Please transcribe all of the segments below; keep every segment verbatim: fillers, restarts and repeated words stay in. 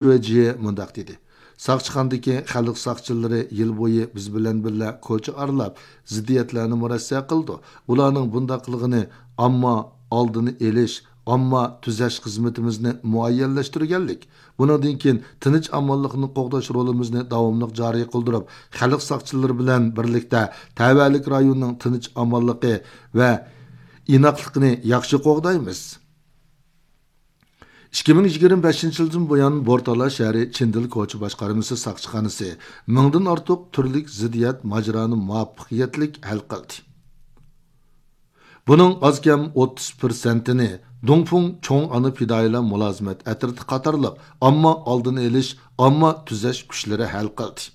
شۇجيې مۇنداق دېدى: ساقچىخانىدىكى خەلق ساقچىلىرى يىل بويى بىز بىلەن بىللە كوچا ئارىلاپ، زىددىيەتلەرنى مۇرەسسە قىلىدۇ. ئۇلارنىڭ بۇنداق قىلغىنى ئامما ئالدىنى ئېلىش، ئامما تۈزەش خىزمىتىمىزنى مۇئەييەنلەشتۈرگەنلىك. بۇنىڭدىن كېيىن تىنچ-ئامانلىقنى قوغداش رولىمىزنى داۋاملىق جارى قىلدۇرۇپ، خەلق ساقچىلىرى بىلەن بىرلىكتە تەۋەلىك رايوننىڭ تىنچ-ئامانلىقى ۋە ئىناقلىقىنى ياخشى قوغدايمىز. ئىككى مىڭ يىگىرمە بەشىنچى يىلدىن بۇيان، بورتالا شەھىرى چىندىل كوچا باشقارمىسى ساقچىخانىسى مىڭدىن ئارتۇق تۈرلۈك زىددىيەت ماجىرانى مۇۋەپپەقىيەتلىك ھەل قىلدى. بۇنىڭ ئاز-كەم ئوتتۇز پىرسەنتىنى دۇڭفېڭ چوڭ ئانا پىدائىيلار مۇلازىمەت ئەترىتى قاتارلىق ئامما ئالدىنى ئېلىش، ئامما تۈزەش كۈچلىرى ھەل قىلدى.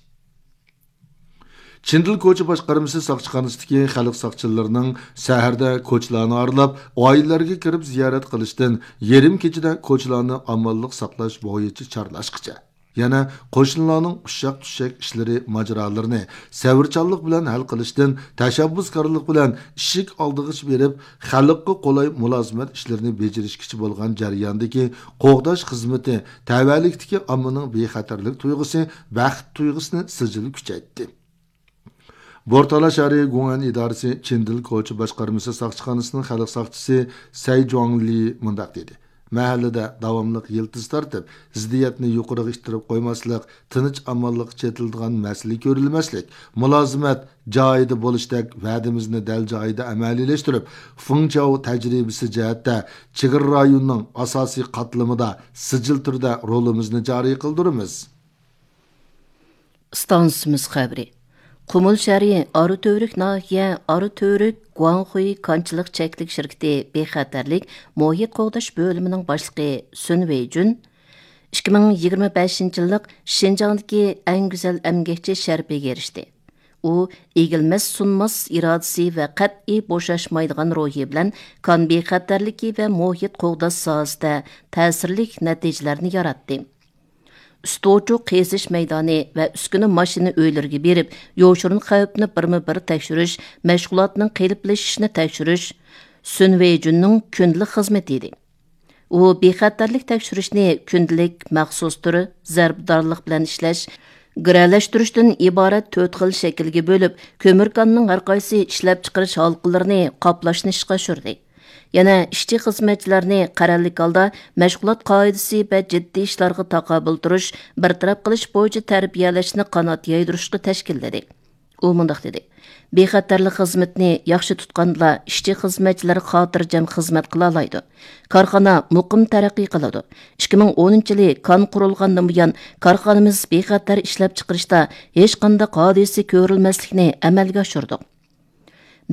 چىندىل كوچا باشقارمىسى ساقچىخانىسىدىكى خەلق ساقچىلىرىنىڭ سەھەردە كوچىلارنى ئارىلاپ، ئائىلىلەرگە كىرىپ زىيارەت قىلىشتىن، يېرىم كېچىدە كوچىلارنى ئامانلىق ساقلاش بويىچە چارلاشقىچە، يەنە قوشنىلارنىڭ ئۇششاق-چۈششەك ئىشلىرى، ماجىرالىرىنى سەۋرچانلىق بىلەن ھەل قىلىشتىن، تەشەببۇسكارلىق بىلەن ئىشىك ئالدىغىچە بېرىپ، خەلققە قولاي مۇلازىمەت ئىشلىرىنى بېجىرىشكىچە بولغان جەرياندىكى قوغداش خىزمىتى تەۋەلىكتىكى ئاممىنىڭ بىخەتەرلىك تۇيغۇسى، بەخت تۇيغۇسىنى سىجىل كۈچەيتتى. بورتالا شەھىرى گۇڭئەن ئىدارىسى چىندىل كوچا باشقارمىسى ساقچىخانىسىنىڭ خەلق ساقچىسى سەي جۇاڭلى مۇنداق دېدى: مەھەللىدە داۋاملىق يىلتىز تارتىپ، زىددىيەتنى يۇقىرىغا ئىتتىرىپ قويماسلىق، تىنچ-ئامانلىققا چېتىلىدىغان مەسىلە كۆرۈلمەسلىك، مۇلازىمەت جايىدا بولۇشتەك ۋەدىمىزنى دەل جايىدا ئەمەلىيلەشتۈرۈپ، فېڭچاۋ تەجرىبىسى جەھەتتە چېگرا رايونىنىڭ ئاساسىي قاتلىمىدا سىجىل تۈردە رولىمىزنى جارى قىلدۇرىمىز. ئىستانسىمىز خەۋىرى. قۇمۇل شەھىرى ئاراتۈۋرۈك ناھىيە ئاراتۈۋرۈك گۇاڭخۇي كانچىلىق چەكلىك شىركىتى بىخەتەرلىك مۇھىت قوغداش بۆلۈمىنىڭ باشلىقى سۈن ۋېيجۈن ئىككى مىڭ يىگىرمە بەشىنچى يىللىق شىنجاڭدىكى ئەڭ گۈزەل ئەمگەكچى شەرىپىگە ئېرىشتى. ئۇ ئېگىلمەس سۇنماس ئىرادىسى ۋە قەتئىي بوشاشمايدىغان روھى بىلەن كان بىخەتەرلىكى ۋە مۇھىت قوغداش ساھەسىدە تەسىرلىك نەتىجىلەرنى ياراتتى. ئۈستى ئوچۇق قېزىش مەيدانى ۋە ئۈسكۈنە ماشىنا ئۆيلىرىگە بېرىپ، يوشۇرۇن خەۋپنى بىرمۇ بىر تەكشۈرۈش، مەشغۇلاتنىڭ قېلىپلىشىشىنى تەكشۈرۈش سۈن ۋېيجۈننىڭ كۈندىلىك خىزمىتى ئىدى. ئۇ بىخەتەرلىك تەكشۈرۈشنى كۈندىلىك، مەخسۇس تۈر، زەربىدارلىق بىلەن ئىشلەش، گىرەلەشتۈرۈشتىن ئىبارەت تۆت خىل شەكىلگە بۆلۈپ، كۆمۈر كاننىڭ ھەرقايسى ئىشلەپچىقىرىش ھالقىلىرىنى قاپلاشنى ئىشقا ئاشۇردى. يەنە ئىشچى-خىزمەتچىلەرنى قەرەللىك ھالدا مەشغۇلات قائىدىسى ۋە جىددىي ئىشلارغا تاقابىل تۇرۇش، بىر تەرەپ قىلىش بويىچە تەربىيەلەشنى قانات يايدۇرۇشقا تەشكىللىدى. ئۇ مۇنداق دېدى: بىخەتەرلىك خىزمىتىنى ياخشى تۇتقاندىلا، ئىشچى-خىزمەتچىلەر خاتىرجەم خىزمەت قىلالايدۇ. كارخانا مۇقىم تەرەققىي قىلىدۇ. ئىككى مىڭ ئونىنچى يىلى كان قۇرۇلغاندىن بۇيان، كارخانىمىز بىخەتەر ئىشلەپچىقىرىشتا ھېچقانداق ھادىسە كۆرۈلمەسلىكنى ئەمەلگە ئاشۇردۇق.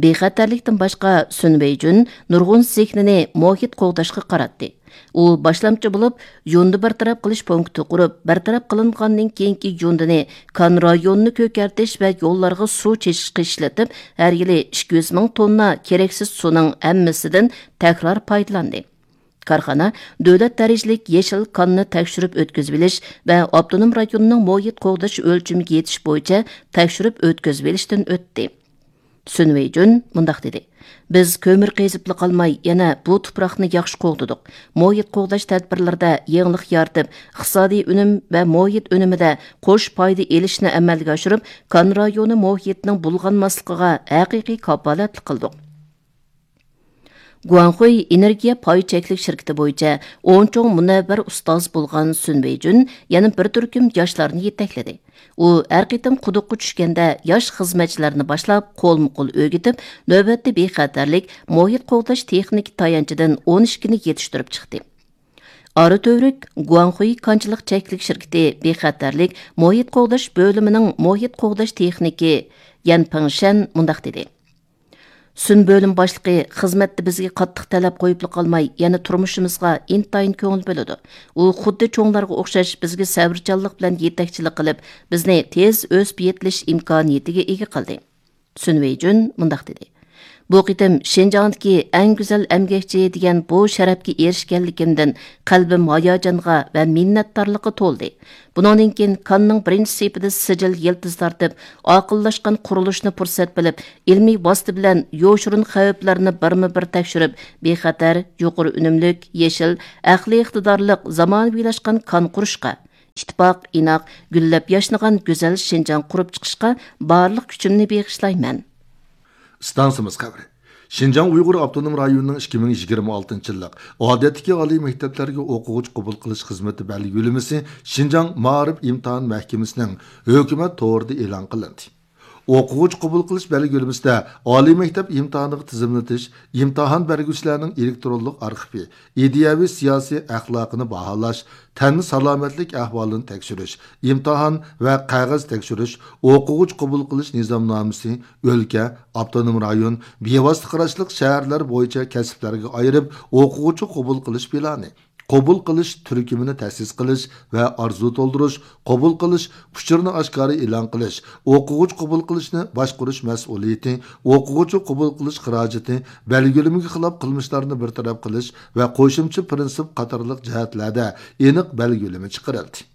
بىخەتەرلىكتىن باشقا، سۈن ۋېيجۈن نۇرغۇن زېھنىنى مۇھىت قوغداشقا قاراتتى. ئۇ باشلامچى بولۇپ، يۇندى بىر تەرەپ قىلىش پونكىتى قۇرۇپ، بىر تەرەپ قىلىنغاندىن كېيىنكى يۇندىنى كان رايونىنى كۆكەرتىش ۋە يوللارغا سۇ چېچىشقا ئىشلىتىپ، ھەر يىلى ئىككى يۈز مىڭ توننا كېرەكسىز سۇنىڭ ھەممىسىدىن تەكرار پايدىلاندى. كارخانا دۆلەت دەرىجىلىك يېشىل كاننى تەكشۈرۈپ ئۆتكۈزۈۋېلىش ۋە ئاپتونوم رايوننىڭ مۇھىت قوغداش ئۆلچىمىگە يېتىش بويىچە تەكشۈرۈپ ئۆتكۈزۈۋېلىشتىن ئۆتتى. سۈن ۋېيجۈن مۇنداق دېدى: بىز كۆمۈر قېزىپلا قالماي، يەنە بۇ تۇپراقنى ياخشى قوغدىدۇق. مۇھىت قوغداش تەدبىرلىرىدە يېڭىلىق يارىتىپ، ئىقتىسادىي ئۈنۈم ۋە مۇھىت ئۈنۈمىدە قوش پايدا ئېلىشنى ئەمەلگە ئاشۇرۇپ، كان رايونى مۇھىتىنىڭ بۇلغانماسلىقىغا ھەقىقىي كاپالەتلىك قىلدۇق. گۇاڭخۇي ئېنېرگىيە پاي چەكلىك شىركىتى بويىچە ئون چوڭ مۇنەۋۋەر ئۇستاز بولغان سۈن ۋېيجۈن يەنە بىر تۈركۈم ياشلارنى يېتەكلىدى. ئۇ ھەر قېتىم قۇدۇققا چۈشكەندە، ياش خىزمەتچىلەرنى باشلاپ، قولمۇ قول ئۆگىتىپ، نۆۋەتتە بىخەتەرلىك، مۇھىت قوغداش تېخنىكا تايانچىدىن ئون ئىككىنى يېتىشتۈرۈپ چىقتى. ئارا تۈۋرۈك گۇاڭخۇي كانچىلىق چەكلىك شىركىتى بىخەتەرلىك، مۇھىت قوغداش بۆلۈمىنىڭ مۇھىت قوغداش تېخنىكى يەن پېڭشەن مۇنداق دېدى: سۈن بۆلۈم باشلىقى خىزمەتتە بىزگە قاتتىق تەلەپ قويۇپلا قالماي، يەنە تۇرمۇشىمىزغا ئىنتايىن كۆڭۈل بۆلىدۇ. ئۇ خۇددى چوڭلارغا ئوخشاش بىزگە سەۋرچانلىق بىلەن يېتەكچىلىك قىلىپ، بىزنى تېز ئۆسۈپ يېتىلىش ئىمكانىيىتىگە ئىگە قىلدى. سۈن ۋېيجۈن مۇنداق دېدى: بۇ قېتىم شىنجاڭدىكى ئەڭ گۈزەل ئەمگەكچى دېگەن بۇ شەرەپكە ئېرىشكەنلىكىمدىن قەلبىم ھاياجانغا ۋە مىننەتدارلىققا تولدى. بۇنىڭدىن كېيىن كاننىڭ بىرىنچى سېپىدا سىجىل يىلتىز تارتىپ، ئاقىللاشقان قۇرۇلۇشنى پۇرسەت بىلىپ، ئىلمىي ۋاسىتە بىلەن يوشۇرۇن خەۋپلەرنى بىرمۇ بىر تەكشۈرۈپ، بىخەتەر، يۇقىرى ئۈنۈملۈك، يېشىل، ئەقلىي ئىقتىدارلىق، زامانىۋىلاشقان كان قۇرۇشقا، ئىتتىپاق، ئىناق، گۈللەپ ياشنىغان گۈزەل شىنجاڭ قۇرۇپ چىقىشقا بارلىق كۈچۈمنى بېغىشلايمەن. ئىستانسىمىز خەۋىرى. شىنجاڭ ئۇيغۇر ئاپتونوم رايونىنىڭ ئىككى مىڭ يىگىرمە ئالتىنچى يىللىق ئادەتتىكى ئالىي مەكتەپلەرگە ئوقۇغۇچى قوبۇل قىلىش خىزمىتى بەلگىلىمىسى شىنجاڭ مائارىپ ئىمتىھان مەھكىمىسىنىڭ ھۆكۈمەت تورىدا ئېلان قىلىندى. ئوقۇغۇچى قوبۇل قىلىش بەلگىلىمىسىدە ئالىي مەكتەپ ئىمتىھانىغا تىزىملىتىش، ئىمتىھان بەرگۈچىلەرنىڭ ئېلېكترونلۇق ئارخىپى، ئىدىيەۋى سىياسىي ئەخلاقىنى باھالاش، تەن سالامەتلىك ئەھۋالىنى تەكشۈرۈش، ئىمتىھان ۋە قەغەز تەكشۈرۈش، ئوقۇغۇچى قوبۇل قىلىش نىزامنامىسى، ئۆلكە، ئاپتونوم رايون، بىۋاسىتە قاراشلىق شەھەرلەر بويىچە كەسىپلەرگە ئايرىپ ئوقۇغۇچى قوبۇل قىلىش پىلانى، قوبۇل قىلىش تۈركۈمىنى تەسىس قىلىش ۋە ئارزۇ تولدۇرۇش، قوبۇل قىلىش ئۇچۇرىنى ئاشكارا ئېلان قىلىش، ئوقۇغۇچى قوبۇل قىلىشنى باشقۇرۇش مەسئۇلىيىتى، ئوقۇغۇچى قوبۇل قىلىش خىراجىتى، بەلگىلىمىگە خىلاپ قىلمىشلارنى بىر تەرەپ قىلىش ۋە قوشۇمچە پىرىنسىپ قاتارلىق جەھەتلەردە ئېنىق بەلگىلىمە چىقىرىلدى.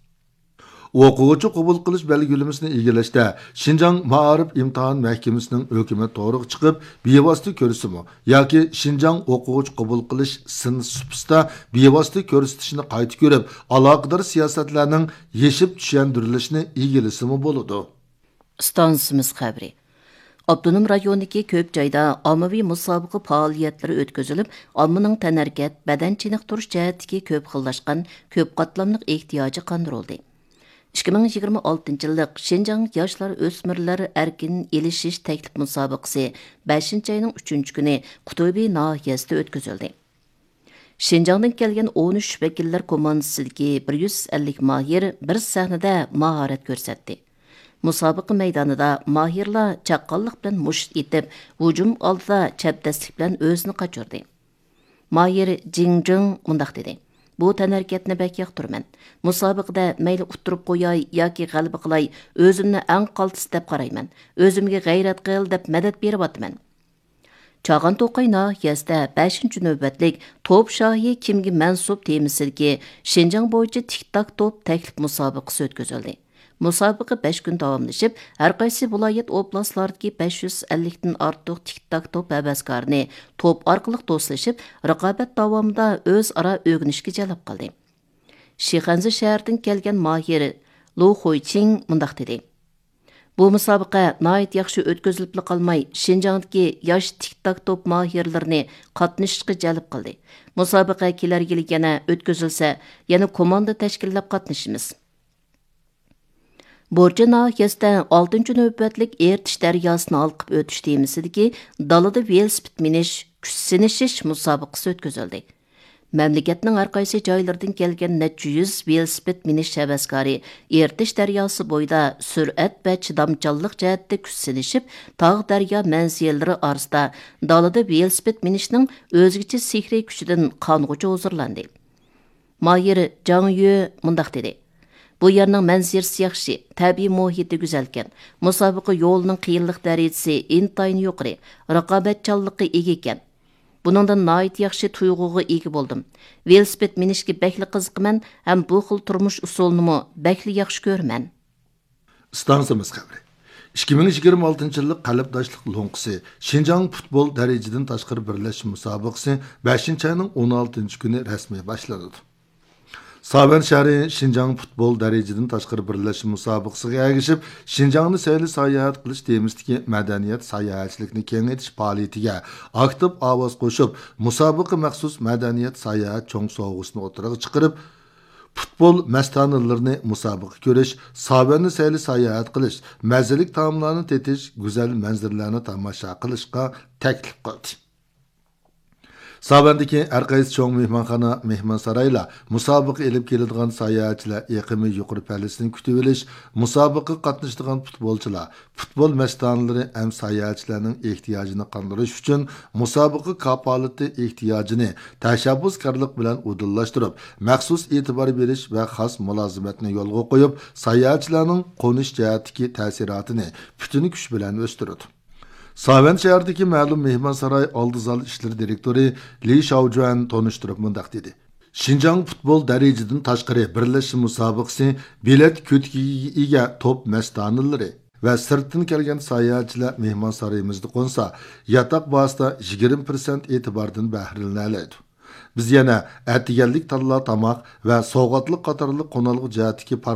ئوقۇغۇچى قوبۇل قىلىش بەلگىلىمىسىنى ئىگىلەشتە شىنجاڭ مائارىپ ئىمتىھان مەھكىمىسىنىڭ ھۆكۈمەت تورىغا چىقىپ، بىۋاسىتە كۆرسىتىمۇ ياكى شىنجاڭ ئوقۇغۇچى قوبۇل قىلىش سىن سۇپىسىدا بىۋاسىتە كۆرسىتىشىنى قايتا كۆرۈپ، ئالاقىدار سىياسەتلەرنىڭ يېشىپ چۈشەندۈرۈلۈشىنى ئىگىلىسىمۇ بولىدۇ. ئىستانسىمىز خەۋىرى. ئاپتونوم رايوندىكى كۆپ جايدا ئاممىۋى مۇسابىقە پائالىيەتلىرى ئۆتكۈزۈلۈپ، ئاممىنىڭ تەنھەرىكەت، بەدەن چېنىقتۇرۇش جەھەتتىكى كۆپ خىللاشقان، كۆپ قاتلاملىق ئېھتىياجى قاندۇرۇلدى. ئىككى مىڭ يىگىرمە ئالتىنچى يىللىق شىنجاڭ ياشلار ئۆسمۈرلەر ئەركىن ئېلىشىش تەكلىپ مۇسابىقىسى بەشىنچى ئاينىڭ ئۈچىنچى كۈنى قۇتۇبى ناھىيەسىدە ئۆتكۈزۈلدى. شىنجاڭدىن كەلگەن ئون ئۈچ ۋەكىللەر كوماندىسىدىكى بىر يۈز ئەللىك ماھىر بىر سەھنىدە ماھارەت كۆرسەتتى. مۇسابىقە مەيدانىدا ماھىرلار چاققانلىق بىلەن مۇشت ئېتىپ، ھۇجۇم ئالدىدا چەبدەسلىك بىلەن ئۆزىنى قاچۇردى. ماھىر جىڭ جىڭ مۇنداق دېدى: «بۇ تەنھەرىكەتنى بەك ياقتۇرىمەن. مۇسابىقىدە مەيلى ئۇتتۇرۇپ قوياي ياكى غەلىبە قىلاي، ئۆزۈمنى ئەڭ قالتىس دەپ قارايمەن. ئۆزۈمگە غەيرەت قىل دەپ مەدەت بېرىۋاتىمەن.» چاغان توقاي ناھىيەسىدە بەشىنچى نۆۋەتلىك توپ شاھى كىمگە مەنسۇپ تېمىسىدىكى شىنجاڭ بويىچە تىك تاك توپ تەكلىپ مۇسابىقىسى ئۆتكۈزۈلدى. مۇسابىقە بەش كۈن داۋاملىشىپ، ھەر قايسى ۋىلايەت، ئوبلاستلاردىكى بەش يۈز ئەللىكتىن ئارتۇق تىك تاك توپ ھەۋەسكارىنى توپ ئارقىلىق دوستلىشىپ، رىقابەت داۋامىدا ئۆزئارا ئۆگىنىشكە جەلپ قىلدى. شىخەنزە شەھىرىدىن كەلگەن ماھىر لۇ خۇيچىڭ مۇنداق دېدى: «بۇ مۇسابىقە ناھايىتى ياخشى ئۆتكۈزۈلۈپلا قالماي، شىنجاڭدىكى ياش تىك تاك توپ ماھىرلىرىنى قاتنىشىشقا جەلپ قىلدى. مۇسابىقە كېلەر يىلى يەنە ئۆتكۈزۈلسە، يەنە كوماندا تەشكىللەپ قاتنىشىمىز.» بورچى ناھىيەسىدە ئالتىنچى نۆۋەتلىك ئېرتىش دەرياسىنى ھالقىپ ئۆتۈش تېمىسىدىكى دالىدا ۋېلىسىپىت مىنىش، كۈچ سىنىشىش مۇسابىقىسى ئۆتكۈزۈلدى. مەملىكەتنىڭ ھەر قايسى جايلىرىدىن كەلگەن نەچچە يۈز ۋېلىسىپىت مىنىش ھەۋەسكارى ئېرتىش دەرياسى بويىدا سۈرئەت ۋە چىدامچانلىق جەھەتتە كۈچ سىنىشىپ، تاغ، دەريا مەنزىرىلىرى ئارىسىدا دالىدا ۋېلىسىپىت مىنىشنىڭ ئۆزگىچە سېھرىي كۈچىدىن قانغۇچە ھۇزۇرلاندى. ماھىر جاڭ يۈ مۇنداق دېدى: «بۇ يەرنىڭ مەنزىرىسى ياخشى، تەبىئىي مۇھىتى گۈزەلكەن. مۇسابىقە يولىنىڭ قىيىنلىق دەرىجىسى ئىنتايىن يۇقىرى، رىقابەتچانلىققا ئىگە ئىكەن. بۇنىڭدىن ناھايىتى ياخشى تۇيغۇغا ئىگە بولدۇم. ۋېلىسىپىت مىنىشكە بەكلا قىزىقىمەن ھەم بۇ خىل تۇرمۇش ئۇسۇلىنىمۇ بەكلا ياخشى كۆرىمەن.» ئىستانسىمىز خەۋىرى. ئىككى مىڭ يىگىرمە ئالتىنچى يىللىق قەلبداشلىق لوڭقىسى شىنجاڭ پۇتبول دەرىجىدىن تاشقىرى بىرلەشمە مۇسابىقىسى بەشىنچى ئاينىڭ ئون ئالتىنچى كۈنى رەسمىي باشلىنىدۇ. ساۋەن شەھىرى شىنجاڭ پۇتبول دەرىجىدىن تاشقىرى بىرلەشمە مۇسابىقىسىگە ئەگىشىپ، شىنجاڭنى سەيلە ساياھەت قىلىش تېمىسىدىكى مەدەنىيەت ساياھەتچىلىكنى كېڭەيتىش پائالىيىتىگە ئاكتىپ ئاۋاز قوشۇپ، مۇسابىقە مەخسۇس مەدەنىيەت ساياھەت چوڭ سوۋغىسىنى ئوتتۇرىغا چىقىرىپ، پۇتبول مەستانىلىرىنى مۇسابىقە كۆرۈش، ساۋەننى سەيلە ساياھەت قىلىش، مەززىلىك تائاملارنى تېتىش، گۈزەل مەنزىرىلەرنى تاماشا قىلىشقا تەكلىپ قىلدى. ساۋەندىكى ھەر قايسى چوڭ مېھمانخانا، مېھمانسارايلار مۇسابىقە ئېلىپ كېلىدىغان ساياھەتچىلەر ئېقىمى يۇقىرى پەللىسىنى كۈتۈۋېلىش، مۇسابىقىگە قاتنىشىدىغان پۇتبولچىلار، پۇتبول مەستانىلىرى ھەم ساياھەتچىلەرنىڭ ئېھتىياجىنى قاندۇرۇش ئۈچۈن مۇسابىقە كاپالىتى ئېھتىياجىنى تەشەببۇسكارلىق بىلەن ئۇدۇللاشتۇرۇپ، مەخسۇس ئېتىبار بېرىش ۋە خاس مۇلازىمەتنى يولغا قويۇپ، ساياھەتچىلەرنىڭ قونۇش جەھەتتىكى تەسىراتىنى پۈتۈن كۈچ بىلەن ئۆستۈرىدۇ. ساۋەن شەھىرىدىكى مەلۇم مېھمانساراي ئالدى زال ئىشلىرى دىرېكتورى لى شاۋجۈەن تونۇشتۇرۇپ مۇنداق دېدى: شىنجاڭ پۇتبول دەرىجىدىن تاشقىرى بىرلەشمە مۇسابىقىسى بېلەت كۆتىكىگە ئىگە توپ مەستانىلىرى ۋە سىرتتىن كەلگەن ساياھەتچىلەر مېھمانسارىيىمىزدا قونسا، ياتاق باھاسىدا يىگىرمە پىرسەنت ئېتىباردىن بەھرىلىنەلەيدۇ. بىز يەنە ئەتىگەنلىك تاللا تاماق ۋە سوۋغاتلىق قاتارلىق قونالغۇ جەھەتتىكى